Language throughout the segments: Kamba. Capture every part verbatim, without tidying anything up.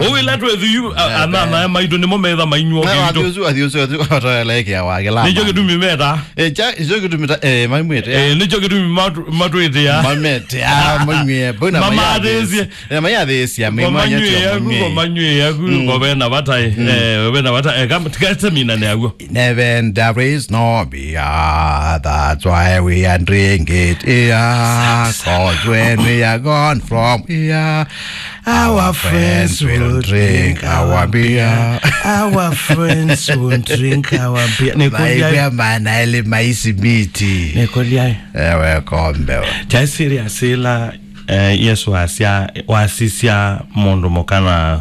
Ũu ĩla twĩthi yu, a-, anana maitũ nĩmo metha mainyw'a ũkĩitũ. Athi ũsu, athi ũsu, athi ũsu, ataelekea wa kĩlama. Nĩkyo kĩtumi meta. Eh, cha, nĩkyo kĩtumi ta, eh, maimwĩte. Eh, nĩkyo kĩtumi matu-, matwĩtĩa. Mamete, ah, maimwĩe. Mbona mayathĩsye? Eh, mayathĩsya, mĩmanya tyo. Kwa manywĩ yaku, kwa manywĩ yaku, kwa vena vata, eh, vena vata, eh, kam-, tikasemina nĩ aguo. In heaven there is no beer, that's why we are drink it here, 'cause when we are gone from here, our friends will drink our beer. Our friends will drink our beer. Nĩkũlya. Maana ele maisi miti. Nĩkũlya. Ewe kombe. Kyaĩ serious ĩla, eh, Yesu asya, wasisya mũndũ mũka na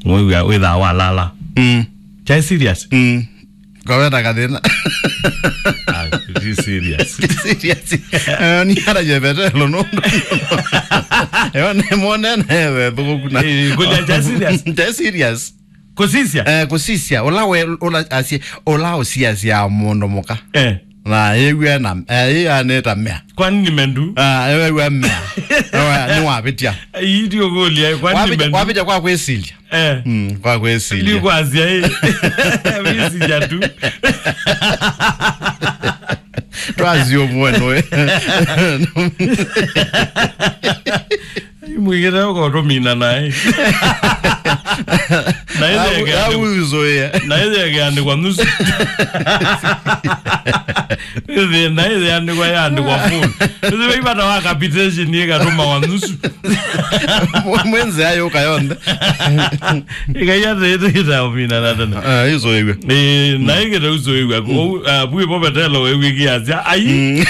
wĩw'a wĩthaa walala. Mm. Kyaĩ serious? Mm. Ngoweta kathĩna. Ah, ti serious. Ti serious. Eh, ni ara je Petelo nũndũ. Yo nĩ mone na ewe thuku na. Eh, kũlya kyaĩ serious? Kyaĩ serious. Kũsisya? Eh, kũsisya. Ũla we, ũla asye, ũla ũsiasya mũndũ mũka. Eh. Na yĩw'e na, eh, yĩanĩta mea. Kwani nĩ mendu? Ah, yĩw'e mea. Nĩwavĩtya. Ii ndiũkũlya, kwani nĩ mendu? Wavĩtya kwa kwĩsilya. Eh. Mm, kwa kwĩsilya. Ndikwasya, ĩ. Wĩsilya tu. Twasio mwenwe. Mwĩkĩte ũkotũmina naĩ. Na ĩtheke andĩkwa, na ĩtheke andĩkwa nusu. Ĩthĩ, na ĩthĩ andĩkwa ya andĩkwa full. Ĩthĩ vaivata wa capitation ĩkatũma wa nusu. Mwenze ayo ũka yonthe. Ĩkaia tĩtĩta ũmina na tene. Ah, izo iwe. Eh, na ĩkĩte ũzoĩw'a. Kũu, ah, bwi po Petelo wĩw'ĩkĩasya. Ai. Mm.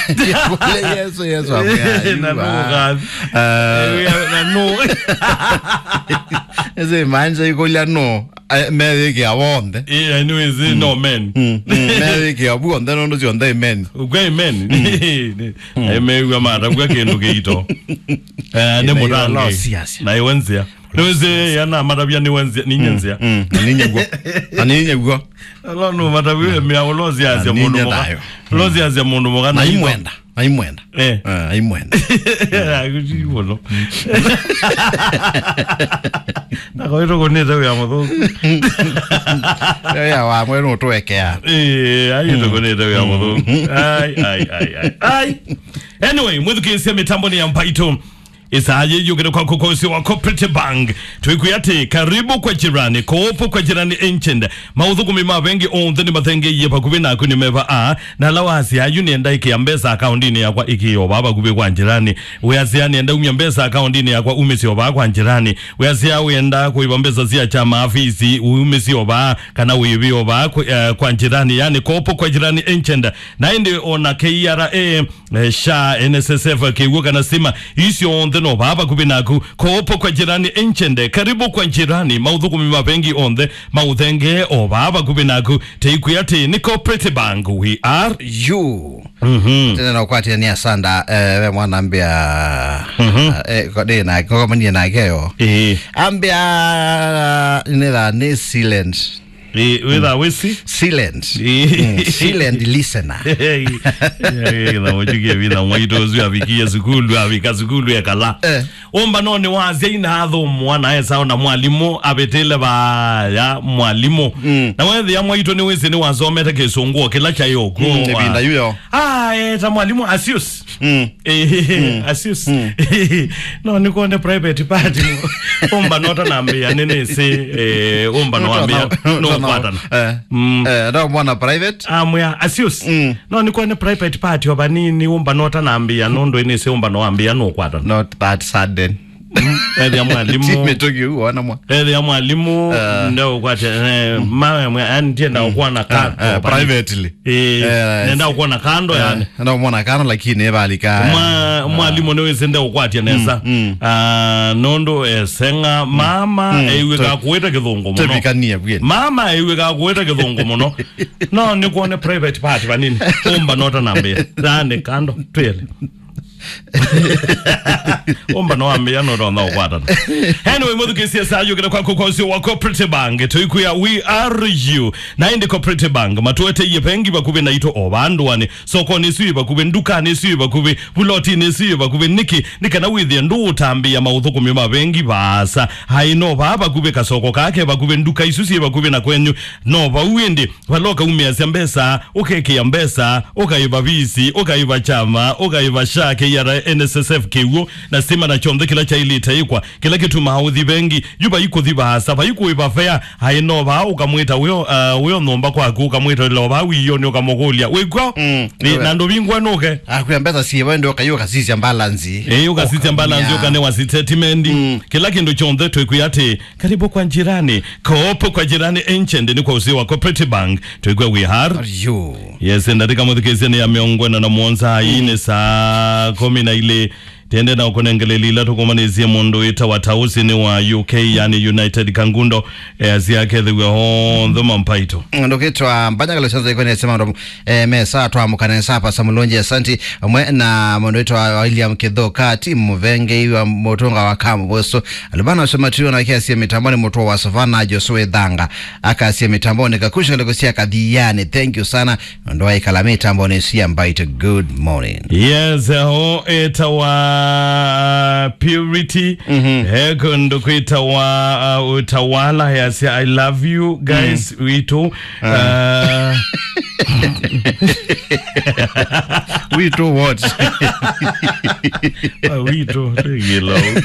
Kule Yesu, Yesu amwĩa. Na no kazi. Ah. Eh, na no. Ese manja ikolia no. Eh, meyĩkĩa wonthe. Eh, anyways, no men. Mm, mm, meyĩkĩa wonthe nũndũ syonthe amen. Ũkw'a amen. Amen wa mata kwa kĩndũ kĩito. Eh, nĩ mũtange. Ũlosiasya. Na iwe nzĩa. Nĩwĩsĩ yana matavya nĩwe nzĩa, ninye nzĩa. Mm, ninye guo. Na ninye guo. Alo no matavya mĩa ũlosiasya mũndũ mũka. Ũlosiasya mũndũ mũka na imwenda. Aimwenda. Eh. Eh, aimwenda. Akuti bono. Na kwa hiyo kunete ya muthu. Ya wa mwe no tuwekea. Eh, ayo kunete ya muthu. Ai, ai, ai, ai. Ai. Anyway, mwithukise mitambo ni ya Mpaito. Isaa yĩĩ yũkĩte kwaku kwa ũsĩ wa Cooperative Bank. Twĩkwĩa atĩ, karibu kwa jirani, koopo kwa jirani agent. Maũthũkũmi ma vengi onthe nĩmathengeie vakuvĩ naku nĩ meva aa, na ala wasya yu nĩenda ĩkĩa mbesa akaũndinĩ yakwa ĩkĩe o vaa vakuvĩ kwa jirani. Wĩasya nĩenda umya mbesa akaũndinĩ yakwa umĩsye o vaa kwa jirani. Wĩasya wĩenda kũĩva mbesa sya kyama, fees, umĩsye o vaa, kana wĩĩve o vaa kwa, eh, kwa jirani, yani koopo kwa jirani agent. Na ĩndĩ o na K R A, eh, SHA, N S S F, kĩw'ũ kana stima, isu onthe no vaa vakuvĩ naku. Koopo kwa jirani agent, karibu kwa jirani, maũthũkũmi ma vengi onthe maũthengee o vaa vakuvĩ naku. Teikwĩa atĩ nĩ Cooperative Bank, we are you. Mhm. Tene na ũkwatĩanĩa sanda, eh, ve mwana ambĩa, eh, ko-, ndĩ na, kokomanie nake yo. Ĩĩ. Ambĩa, nĩtha nĩ silent. Ĩ, wĩtha wĩsi? Silent. Ĩ. Mm, silent listener. Ĩ, ĩ, ĩ, na mũjukie vitha mwaitũ ũsu avikie sukulu, avika sukulu ekala. Eh. Ũmbanonĩ wasya ina athũmũa na esa ona mwalimũ avĩtĩle vaya mwalimũ. Mm. Na wethĩa mwaitũ nĩwĩsĩ nĩwasomete kĩsũngũ o kĩla kyaĩ ũkw'o. Mm, ĩvinda yu yo. Ah, eh, ta mwalimũ Asius. Mm. Eh, Asius. Mm. No nĩkwone private part. Ũmba nota nambĩa nĩnĩsĩ, eh, ũmba no ambĩa, no kwatana. Eh. Mm. Eh, nda mwana private. Amwĩa, Asius. Mm. No nĩkwone private part o vanini, ũmba nota nambĩa, nũndũ nĩnĩsĩ ũmba no ambĩa, no kwatana. Not that sudden. Ethĩa mwalimũ. Ti mĩtũkĩ ũu, wana mwa. Ethĩa mwalimũ, eh, ndeũkwatya, eh, mawe mwe, yani, ndienda ũkwona ka, eh, privately. Eh, eh, nenda ũkwona kando, eh, yani. Nenda ũmwona kando, lakini evalika. Mwa-, mwalimũ nĩwĩsĩ ndeũkwatya nesa. Mm, mm. Ah, nũndũ eseng'a, mama, mm, eiw'ĩka kũĩta kĩthũngũ mũno. Tevikanie bwene. Mama eiw'ĩka kũĩta kĩthũngũ mũno. No nĩkwone private part vanini. Ũmba nota nambĩa. Yani kando, twĩele. Ũmba no ambĩa no ronda ũkwatana. Anyway, mũthukĩsie saa yũkĩte kwaku kwa ũsio wa Cooperative Bank. Tũikwĩa, we are you. Na ĩndĩ Cooperative Bank, matũeteie vengi vakuvĩ naitũ o vandũanĩ. Sokonĩ ĩsu yĩ vakuvĩ, ndukanĩ ĩsu yĩ vakuvĩ, vulotinĩ ĩsu yĩ vakuvĩ. Nĩkĩ? Nĩ kana wĩthĩe ndũũtambĩĩa maũthũkũmi ma vengi vaasa. Aĩ no vaa vakuvĩ, kasoko kake vakuvĩ, nduka isu syĩ vakuvĩ na kwenyu. No vau ĩndĩ, vala ũkaumĩasya mbesa, ũkekĩa mbesa, ũkaĩva visi, ũkaĩva kyama, ũkaĩva sha, K R A, N S S F, kĩw'ũ, na stima na kyonthe kĩla kyaĩlĩte ĩkwa, kĩla kĩtumaa ũthi vengi, yu vai kũthi vaasa, vai kũĩva fea, aĩ no vaa ũkamwĩta wĩo, uh, wĩo nyũmba kwaku, ũkamwĩta ĩla o vaa wĩonĩ, ũkamũkũlya, "Wĩkw'o?" Mm, Ĩ, na ndũvingwa nũke. Akwĩa mbesa siĩva, ĩndĩ ũkaiũka sisya balance. Ĩ, ũkasisya balance, ũkanĩwa statement. Mm. Kĩla kĩndũ kyonthe twĩkwĩa atĩ, karibu kwa jirani. Kopo kwa jirani Ancient nĩ kwa ũsio wa Cooperative Bank. Twĩkwĩa we are. Are you? Yes, ndatĩka mũthikĩsya nĩ ya mĩongo ĩna na mũonza, mm, nĩ saa kũmi na ilĩ. Tende na ũkũnengeleli ila tũkũmanĩsye mũndũ wĩtawa Tausi nĩ wa U K, yani United Kangundo, easya akethĩw'a onthe mampaito. Ndũkĩtwa Mbanyagalo Shanza ĩkwenye sema ndo, eh, mesa twamũkane sapa Samulonji, asanti, ũmwe na mũndũ wĩtawa William Kithuka, timu mũvengei wa mũtũnga wa Kamu Boso, Alubana Shomatiwa na kiasi ya mitamboni, mũtũ wa Savana Joshua Thanga, akasi ya mitamboni, Kakusha Kalikusia Kathiani. Thank you sana. Ndo aikala mitamboni sia Mbaito. Good morning. Yes, ho etawa Purity. Mhm. He kũndũ kwĩtawa, uh, Utawala, yasya, "I love you guys, witũ." Uh, Witũ what? Ah, witũ, tũigĩla ũu.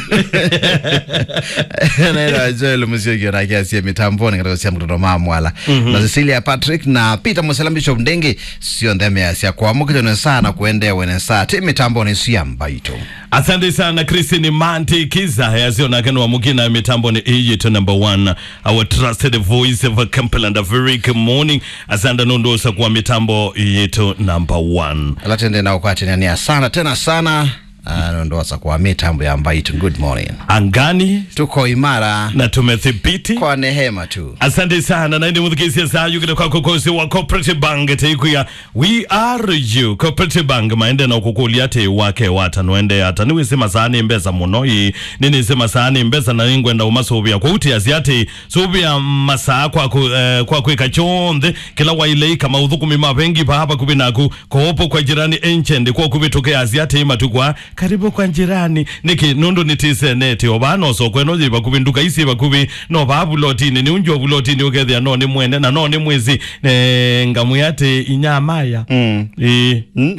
Naitwa Joel Musyoki, na kiasi ya mitamboni katika sia mtoto mama Mwala. Mhm. Na Cecilia Patrick na Peter Musela, Bishop Ndenge, sio ndeme ya sia kwa mukito ne sana kuendewe ne saa. Ti mitamboni sia Mbaito. Asante sana, Christine Manti Kiza, yasio na kenwa mukina mitamboni iyi to number one. Our trusted voice of Kampala and a very good morning. Asante nũndũ ũsa kwa mitambo yetu number one. Ala tende na ũkwatĩnĩa nĩ asana tena sana. Ah, nũndũ ũsa kwa mitambo ya Mbaito. Good morning. Angani. Tuko imara. Na tumethibiti. Kwa neema tu. Asante sana. Na ĩndĩ mũthikĩsye saa yũkĩte kwa kũkũsĩ wa Cooperative Bank, teikwĩa We are you. Cooperative Bank maende na ũkũkũlya atĩ wake wata, nũende ata? Nĩwĩsĩ masaa nĩ mbesa mũno, ĩĩ. Nĩnĩsĩ masaa nĩ mbesa na nĩngwenda ũmasũvĩa. Kwa ũtiasya atĩ, sũvĩa masaa kwa kũ-, eh, kwa kwĩka kyonthe kĩla waĩle ĩka maũthũkũmi ma vengi vaa vakuvĩ naku. Koopo kwa jirani Ancient kwa kũvĩtũke asya atĩ matukũ aa, karibu kwa jirani. Nĩkĩ? Nũndũ nĩtĩsenete o vaa, no soko ĩno yĩ vakuvĩ, nduka isi yĩ vakuvĩ, no vaa vulotinĩ, nĩ unjua vulotinĩ ũkethĩa no nĩ mwene, na no nĩ mwĩsĩ, eh, ngamwĩa atĩ inyamaya. Mm. Ĩĩ. Mm.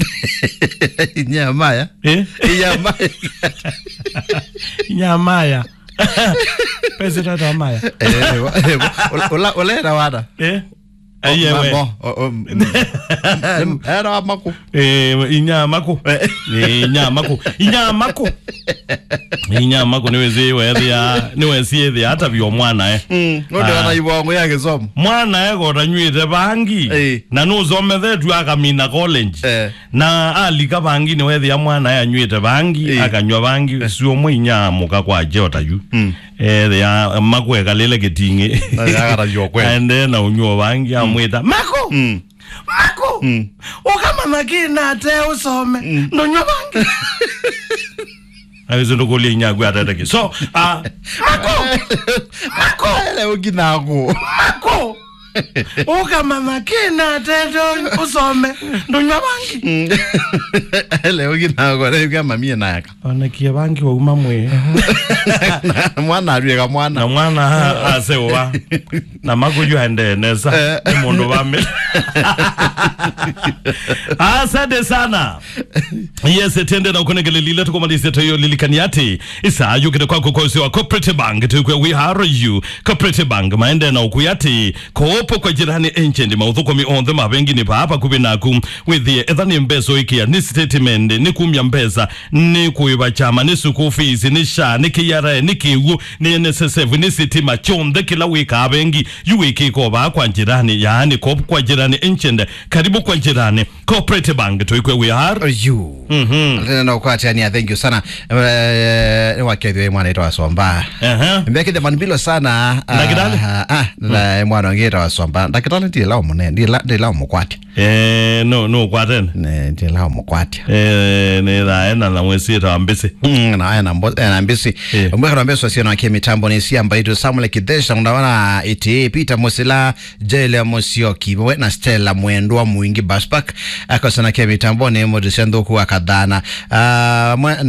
Inyamaya? Eh? Inyamaya. Inyamaya. Pese tata maya. Eh, wa-, eh, wa-, ula-, ula-, ulera wada. Eh? Aiye we. Mo, o, o, m-, era wa maku. Eh, inya maku. Eh. Eh, inya maku. Inya maku. Inya maku nĩwĩsĩ wethĩa, nĩwĩsĩ ethĩa hata vyo mwana, eh. Mm, nũndũ Ah. ana ibongo ya gĩsomo. Mwana, eh, kota nywĩte vangi. Eh. Na nũsomethetw'e akamina college. Eh. Na alika vangi nĩwethĩa mwana, eh, anywĩte vangi, Eh. akanywa vangi, Eh. sio mwe inya mũka kwa jota yu. Mm. Ethĩa maku ekalĩle kĩting'ĩ. Na yakatavyo kweli. Aendee na ũnyuo vangi, Mm. amwĩta, "Maku! Mm. Maku! Mm. Ũkamanya kĩ na ate ũsome, Mm. ndũnywa vangi." Awĩsĩ ndũkũlya inyaku ateteki. So, ah, Maku! Maku! Ele ũkinaku. Maku! Ũkamanya kĩ na ate ũsome, ndũnywa vangi. Mm. Ele ũkinaku, ele ũkĩa mamie nayaka. Onekie vangi wauma mwĩ. Mwana atw'ĩka mwana. Na mwana a-, aseũva. Na maku yu aendee nesa. Eh. Nĩ mũndũ vamĩ. Asante sana. Yes, tiende na ũkũnengelelile tũkũmalisye tũyũlilikania atĩ, ĩsaa yũkĩte kwaku kwa ũsĩ wa Cooperative Bank, tũkwĩa we are you. Cooperative Bank maende na ũkwĩa atĩ, koopo kwa jirani Ancient, maũthũkũmi onthe ma vengi nĩ vaa vakuvĩ naku. Wĩthĩe, etha nĩ mbesa ũikĩa, nĩ statement, nĩ kumya mbesa, nĩ kũĩva kyama, nĩ school fees, nĩ SHA, nĩ K R A, nĩ kĩw'ũ, nĩ N S S F, nĩ sitima, kyonthe kĩla wĩkaa vengi, yu wĩkĩka o vaa kwa jirani, yaani koopo kwa jirani Ancient, karibu kwa jirani. Cooperative Bank, tũikwĩa we are. You. Mhm. Tena na ũkwatĩania, thank you sana. Eh, nĩ wakethio mwana ĩtwa Somba. Aha. Mbekithe manbilo sana. Ndagĩtarĩ? Ah, ah, na mwana ũngĩ ĩtwa Somba, ndakĩtalĩ ndĩla ũmũne, ndĩla, ndĩla ũmũkwatya. Eh, no, no kwatene. Ne, ndĩla ũmũkwatya. Eh, nĩ thaena na mwĩsĩta wa mbĩsĩ. Mm, na ena mbo-, ena mbĩsĩ. Eh. Ũmwe kana mbĩsĩ sio na kĩmĩtambo nĩ cia mbaitũ Samuel Kithesha, ndawana ĩtĩ, Peter Musila, Jele Musyoki, we na Stella Mwendwa Mwingi Baspak. Akosa na kĩmĩtambo nĩ mũndũ cia nthũku wa kathana. Ah, mwe-,